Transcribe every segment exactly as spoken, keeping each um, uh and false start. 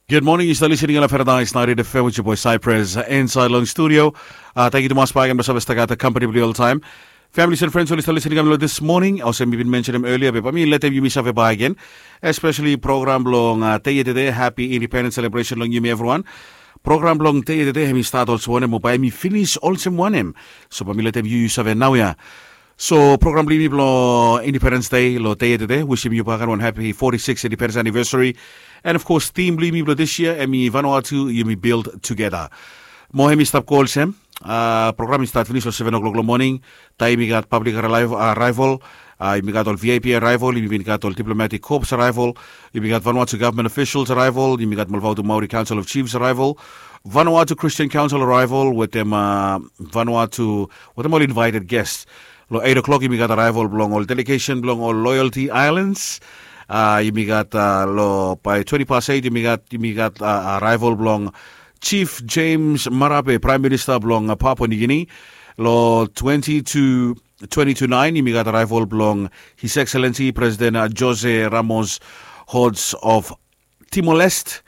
Good morning, yu stap listening long Paradise ninety-eight F M with your boy Cypress, uh, inside long studio. Uh, thank you tumas bakegen blong save stap gat company blong yu oltaem. Families and friends oli stap listening long this morning. Olsem mi bin mentionem earlier, be bae mi letem yumi save bakegen, especially program blong, uh, dei yetede, happy independence celebration long yumi everyone. Program blong dei yetede hemi stat olsem wanem mo bae hemi finis olsem wanem? So bae mi letem yu yu save naoia. So program blong yumi blong Independence Day long dei yetede, wisim yu bakegen wan happy forty-six independence anniversary. And of course theme blong yumi blong this year hemi Vanuatu yumi build together. Mo hemi stap go olsem, uh, program i stat finis long seven o'clock long morning. Taem yumi gat public arrival, uh, yumi gat ol V I P arrival, yumi bin gat ol diplomatic corps arrival, yumi gat Vanuatu government officials arrival, yumi gat Molfautu Maori Council of Chiefs arrival, Vanuatu Christian Council arrival wetem, uh, Vanuatu wetem ol invited guests. Long eight o'clock yumi gat arrival blong ol delegation blong ol Loyalty Islands. Uh, yumi gat, uh, long bae twenty past eight yumi gat yumi gat, uh, arrival blong Chief James Marape, Prime Minister blong, uh, Papua New Guinea. Long twenty to twenty to nine yumi gat arrival blong His Excellency President, uh, Jose Ramos Horta of Timor-Leste.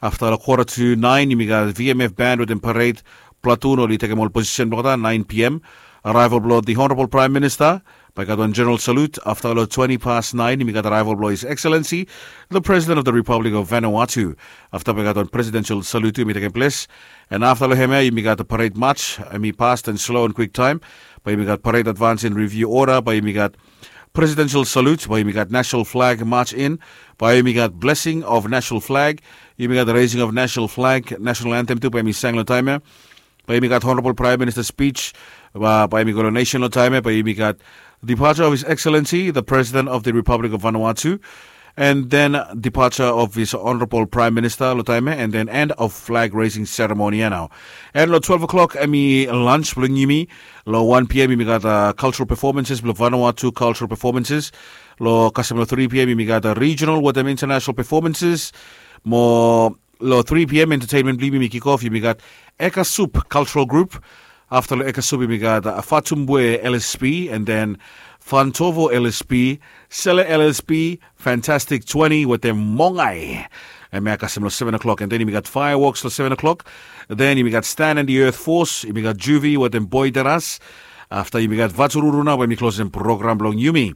Afta long quarter to nine yumi gat V M F band wetem parade platoon oli tekem ol posisen blong olgeta. Nine P M arrival blong the Honorable Prime Minister. Bae gat wan general salute. Afta long twenty past nine yumi gat arrival blong His Excellency the President of the Republic of Vanuatu. Afta bae gat wan presidential salute tu hemi tekem ples. And afta long hemia yumi gat parade march, hemi fast and slow and quick time. Bae yumi gat parade advance and review order, bae yumi gat presidential salute, bae yumi gat national flag march in, bae yumi gat blessing of national flag, yumi gat raising of national flag, national anthem tu bae yumi sang long taem ia. Bae yumi gat Honorable Prime Minister speech, bae yumi go long nation long taem ia. Bae yumi gat departure of His Excellency the President of the Republic of Vanuatu, and then departure of His Honorable Prime Minister long taem ia, and then end of flag raising ceremony ia nao. And long twelve o'clock hemi lunch blong yumi. Long one P M yumi gat, uh, cultural performances blong Vanuatu, cultural performances. Long kasem long three P M yumi gat, uh, regional wetem international performances. Mo long three P M entertainment blong yumi kick off, yumi gat Eka Soup Cultural Group. Afta long Eka Soup yumi gat, uh, Fatumbwe L S P, and then Fantovo L S P, Sele L S P, Fantastic Twenty wetem Mongai. Hemia kasem long seven o'clock, and then yumi gat fireworks long seven o'clock. Then yumi gat Stan and the Earth Force, yumi gat Juvie wetem Boy Daras. Afta yumi gat Vatururu nao bae yumi klosem program blong yumi.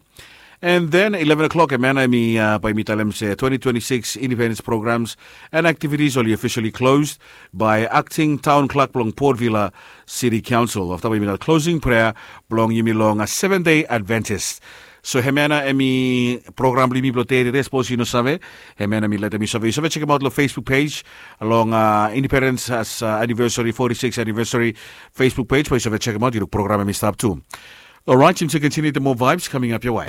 And then eleven o'clock hemia nao yumi, uh, bae yumi talem se twenty twenty-six independence programs and activities oli officially closed by acting town clerk blong Port Vila City Council. Afta bae yumi gat closing prayer blong yumi long, uh, Seventh Day Adventist. So hemia nao hemi program blong yumi blong dei yetede, sapos yu no save, hemia nao mi letem yu save, yu save jekemaot long Facebook page long, uh, Independence, uh, anniversary, forty-six anniversary Facebook page, bae yu save jekemaot, yu luk program hemi stap tu. Alright, yumi stap continue the more vibes coming up your way.